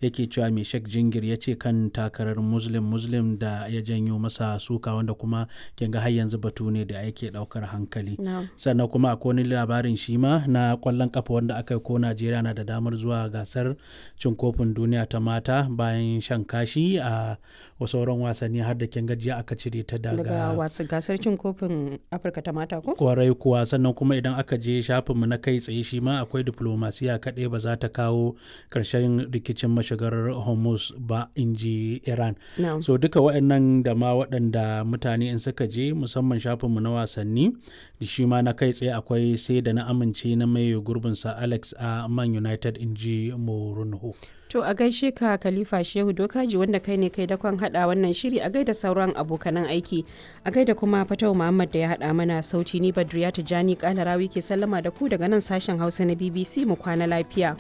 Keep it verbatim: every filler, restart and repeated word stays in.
yake cewa mai Sheikh Jingir ya ce kan takarar Muslim Muslim da ya janyo masa suka, wanda kuma kin ga har yanzu batu ne da yake daukar hankali. Sannan kuma akwai wani labarin shi ma na kwallon kafa wanda aka yi ko Najeriya na da damar zuwa gasar cin kofin duniya ta mata bayan shan kashi a sauran wasanni, har da kin gajiya aka cire ta daga wasu gasar cin kofin Afirka ta mata ko? Kwarai kuwa. Sannan kuma idan aka je shafinmu na kai tsaye shi ma akwai diplomasiya kaɗai ba za ta kawo ƙarshen rikicin mashigar Hormuz ba, in ji Iran. No. So duka waɗannan da ma waɗanda mutane in suka je musamman shafinmu na wasanni da shi ma na kai tsaye akwai sai da na amince na mai gurbinsa Alex a Man United, in ji Mourinho. To a gaishe ka Khalifa Shehu Dokaji, wanda kai ne kai dakon hada wannan shiri, a gaida sauran abokanan aiki, a gaida kuma Fatau Muhammad da ya hada mana sauti. Ni Badriya Tijani Kalarawi ke sallama da ku daga nan sashen Hausa na B B C, mu kwana lafiya.